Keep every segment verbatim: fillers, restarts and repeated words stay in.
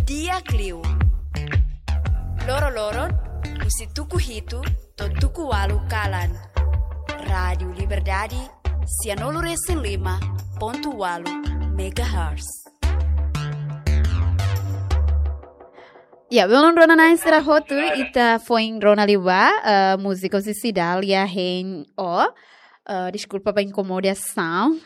Di'ak liu. Loroloron, husi tuku hitu to'o tuku ualu kalan. Rádiu Liberdade, sianulu-resin-lima pontu ualu megahertz. Ya, belun rona-na'in sira hotu, ita foin rona liu ba, eh, múzika husi Cidália hein ó. Eh, deskulpa ba inkomodasaun.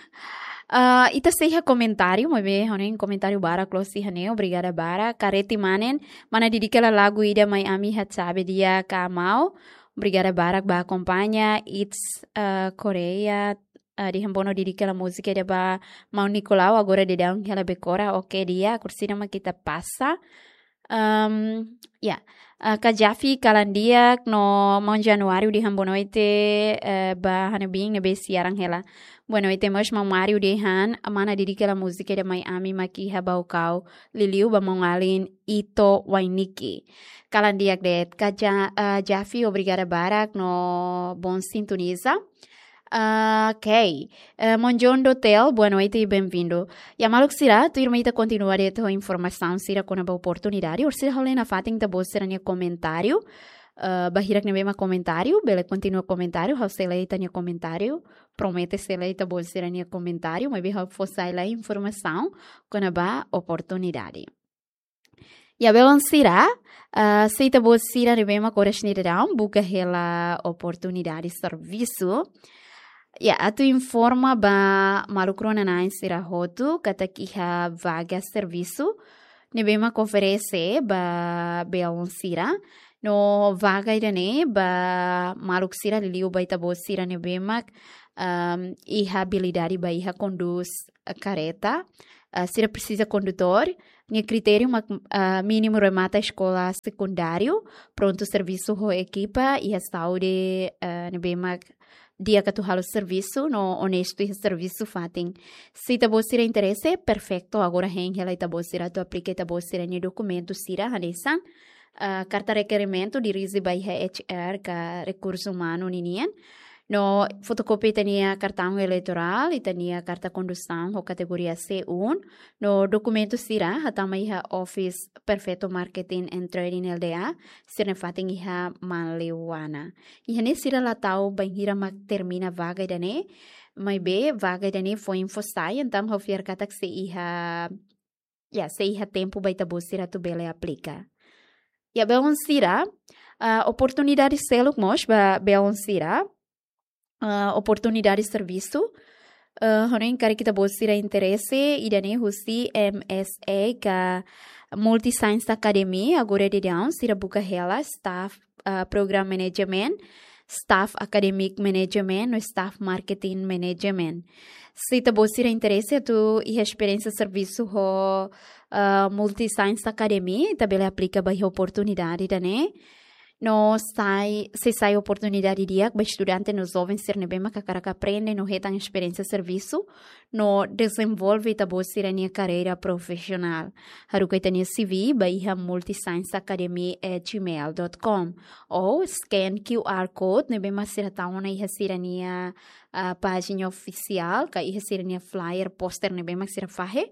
Eh, ita sei iha komentáriu, maibé ha'u hanoin komentáriu barak loos iha ne'e, obrigada barak. Kareti Manen, mana dedika hela lagu ida mai ami iha Chabe Dia ka Amau. Obrigada barak ba akompaña. It's, eh, Korea, eh, dehan Bono dedika hela múzika ida ba Maun Nicolau, agora daudaun hela Bekora. Oke, di'ak, orsida mak ita pasa. Em, ya, eh, Kak Jafi kalan di'ak no Maun Januário dehan boa noite, eh, ba ha'u-nia biin ne'ebé siaran hela. Boa noite mós Maun Mário dehan mana dedika hela múzika ida mai ami mak iha Baucau, liuliu ba maun-alin Ito Wainiki. Kalan di'ak de'it Kak Ja-, eh, Jafi, obrigada barak no bom sintoniza. Ah, ok. Eh, Monjon Dotel, boa noite e bem-vindo. Ya maluk sira, tuirmai ita kontinua de'it ho informasaun sira kona-ba oportunidade, orsida ha'u lee nafatin ita-boot sira-nia komentáriu. Eh, ba hirak ne'ebé mak komentáriu, bele kontinua komentáriu, ha'u sei lee ita-nia komentáriu, promete sei lee ita-boot sira-nia komentáriu, maibé ha'u fó sai lai informasaun kona-ba oportunidade. Ya, belun sira, ah, se ita-boot sira ne'ebé mak oras ne'e daudaun buka hela oportunidade servisu. Ya, atu informa ba maluk rona-na'in sira hotu katak iha vaga servisu ne'ebé mak oferese ba belun sira. No vaga ida-ne'e ba maluk sira liuliu ba ita-boot sira ne'ebé mak, ehm, iha abilidade ba iha kondús, eh, kareta. Eh, sira presiza kondutór. Nia kritériu mak, ah, mínimu remata eskola sekundáriu, prontu servisu ho ekipa, iha saúde, eh, ne'ebé mak di'ak atu halo servisu, no onestu iha servisu fatin. Se ita-boot sira interese, perfeitu, agora hein hela ita-boot sira atu aplika ita-boot sira-nia dokumentu sira hanesan, eh, karta rekerimentu dirije ba iha H R ka rekursu umanu ninian. No fotokópia ita-nia kartaun eleitorál, ita-nia karta kondusaun ho kategoria C um, no dokumentu sira hatama iha office Perfeito Marketing and Trading L D A, sira-nia fatin iha Maliwana. Iha ne'e sira la tau bainhira mak termina vaga ida-ne'e, maibé vaga ida-ne'e foin fó sai, entaun ha'u fiar katak sei iha, ya, sei iha tempu ba ita-boot sira atu bele aplika. Ya, belun sira, ah, oportunidade seluk mós ba belun sira, ah, oportunidade servisu. Ah, ha'u hanoin karik ita-boot sira interese, ida-ne'e husi M S A ka Multi Science Academy, agora daudaun sira buka hela staff, ah, program management, staff academic management, no staff marketing management. Se ita-boot sira interese atu iha esperiénsia servisu ho, ah, Multi Science Academy, ita bele aplika ba iha oportunidade ida-ne'e. No sai, sei sai oportunidade di'ak ba estudante no joven sira ne'ebé mak hakarak aprende no hetan esperiénsia servisu, no dezenvolve ita-boot sira-nia karreira profisionál. Haruka ita-nia C V ba iha multiscienceacademy at gmail dot com. Ou scan Q R code ne'ebé mak sira tau ona iha sira-nia, ah, pájina ofisiál, ka iha sira-nia flyer, poster ne'ebé mak sira fahe.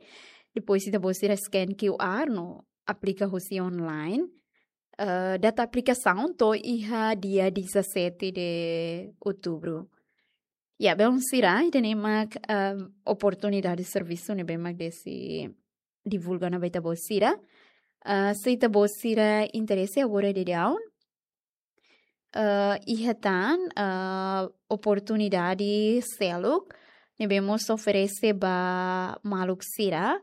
Depois ita-boot sira scan Q R no aplika husi online. Eh, data aplikasaun to'o iha dia dezassete de outubro. Ya, belun sira, ida-ne'e mak, eh, oportunidade servisu ne'ebé mak Desi divulga ona ba ita-boot sira. Eh, se ita-boot sira interese agora daudaun, eh, iha tan, eh, oportunidade seluk ne'ebé mós oferese ba maluk sira.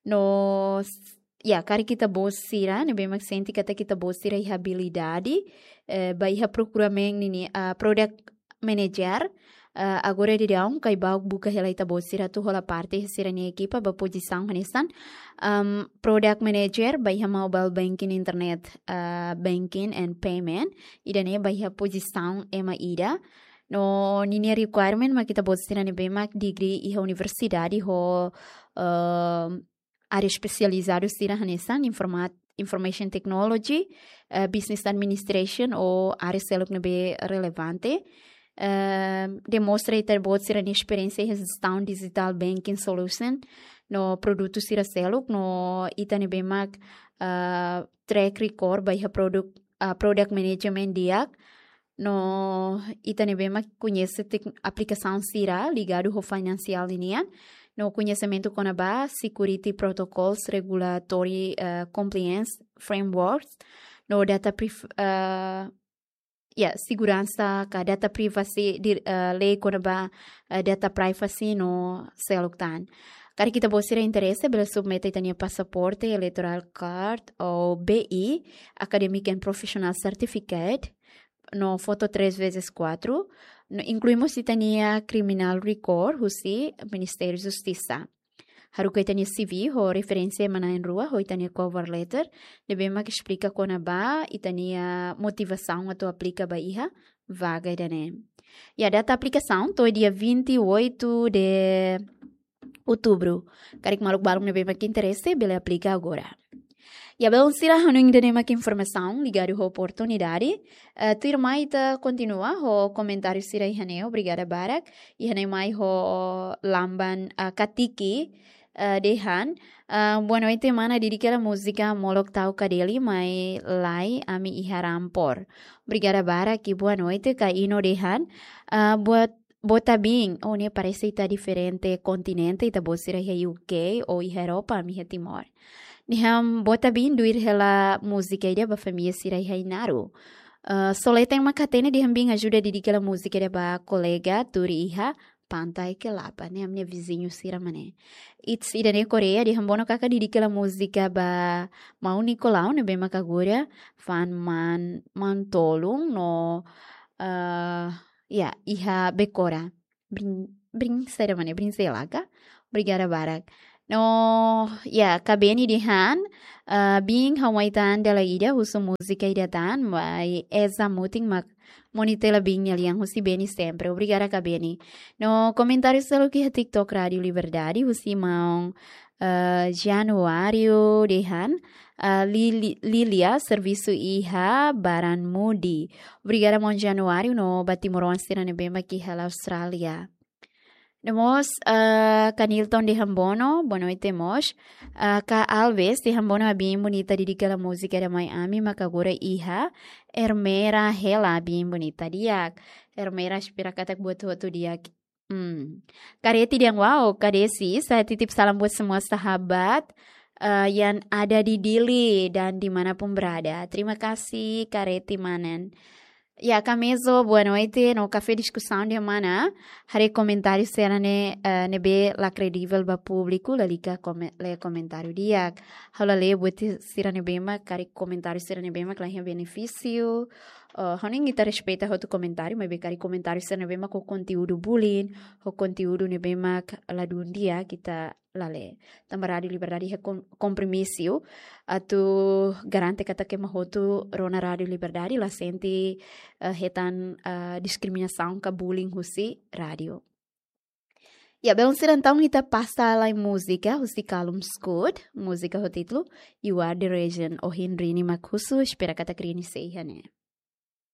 No s-, ya, karik ita-boot sira ne'ebé mak sente katak ita-boot sira iha abilidade, eh, ba iha prokuramentu nian, ah, product manager, eh, agora daudaun Caibauk buka hela ita-boot sira atu hola parte iha sira-nia ekipa ba pozisaun hanesan, em, product manager ba iha mobile banking, internet, eh, banking and payment. Ida-ne'e ba iha pozisaun ema ida. No ninia requirement mak ita-boot sira ne'ebé mak degree iha universidade ho, em, área espesializadu sira hanesan informa-, information technology, eh, business administration ou área seluk ne'ebé relevante. Eh, demonstra ita-boot sira-nia esperiénsia iha jestaun digital banking solution no produtu sira seluk no ita ne'ebé mak, ah, track record ba iha product, ah, product management di'ak. No ita ne'ebé mak koñese tek-, aplikasaun sira ligadu ho finansiál ninian. No koñesimentu kona-ba security protocols, regulatory, ah, compliance frameworks. No data prif-, ah, ya, seguransa ka data privacy di, ah, lei kona-ba, ah, data privacy no seluk tan. Karik ita-boot sira interese, bele submete ita-nia pasaporte, electoral card, ou B I, academic and professional certificate, no foto três vezes quatro, no inklui mós ita-nia criminal record, husi Ministériu Justisa. Haruka ita-nia C V ho referénsia ema na'in-rua, ho ita-nia cover letter, ne'ebé mak esplika kona-ba ita-nia motivasaun atu aplika ba iha vaga ida-ne'e. Ya, data aplikasaun to'o dia vinte e oito de outubro. Karik maluk balun ne'ebé mak interese, bele aplika agora. Ya, belun sira, ha'u hanoin ida-ne'e mak informasaun ligadu ho oportunidade. Eh, tuirmai ita kontinua ho komentáriu sira iha ne'e, obrigada barak. Iha ne'e mai ho Lamban, ah, Katiki, eh, dehan, ah, "Boa noite, mana, dedika hela múzika Molok Tau Kadeli mai lai ami iha Rampor." Obrigada barak i boa noite, Ka Ino dehan, ah, "Boa, boa tarde." Oh, ne'e parese ita diferente kontinente, ita-boot sira iha U K ou iha Europa, ami iha Timor. Dehan, "Boa tarde, duir hela múzika ida ba família sira iha Inaru." Ah, só leten mak hatene, dehan, "Bin ajuda dedika hela múzika ida ba kolega tuur iha Pantai Kelapa." Ne'e ami-nia viziñu sira mak ne'e. It's ida-ne'e Korea, dehan, "Bono kaka dedika hela múzika ba maun Nicolau ne'ebé mak agora fa'an man, man tolun no, ah, ya, iha Bekora." Brin-, brin saida mak ne'e, brin sela ka? Obrigada barak. No, ya, Ka Beni dehan, ah, "Bin, ha'u mai tan dala ida, husu múzika ida tan, mai eza mutin mak monitela bin nia lian husi Beni sempre." Obrigada, Ka Beni. No komentáriu seluk iha TikTok Rádio Liberdade, husi maun, ah, Januário dehan, ah, Lili-, Lilia servisu iha Baran Mudi. Obrigada, maun Januário, no ba timoroan sira ne'ebé mak iha la Austrália. No mós, ah, Ka Nilton dehan bono, boa noite mós. Ah, Ka Alves dehan bono, "Bin bonita, dedika hela múzika ida mai ami mak agora iha Ermera hela, bin bonita." Di'ak. Ermera, espera katak buat hotu di'ak. Hmm. Kareti dehan, "Wow, Ka Desi, saya titip salam buat semua sahabat, eh, yang ada di Dili dan dimanapun berada." Terima kasih, Kareti manen. Ya, Ka Mezo, boa noite. No Kafé Diskusaun dehan, mana, haree komentáriu sira-ne'e, eh, ne'ebé la kredivel ba públiku, lalika kome-, lee komentáriu di'ak. Ha'u la lee buat sira ne'ebé mak, karik komentáriu sira ne'ebé mak la iha benefísiu. Eh, ha'u hanoin ita respeita hotu komentáriu, maibé karik komentáriu sira ne'ebé mak ho konteúdu bullying, ho konteúdu ne'ebé mak ladún di'ak, ita la lee. Tanba Rádio Liberdade iha kom-, kompromisu atu garante katak ema hotu rona Rádio Liberdade, la sente, eh, hetan, eh, diskriminasaun ka bullying husi rádiu. Ya, belun sira, entaun ita pasa lai múzika husi Callum Scott, múzika ho títulu You Are the Reason, ohin Rini mak husu, espera katak Rini sei iha ne'e.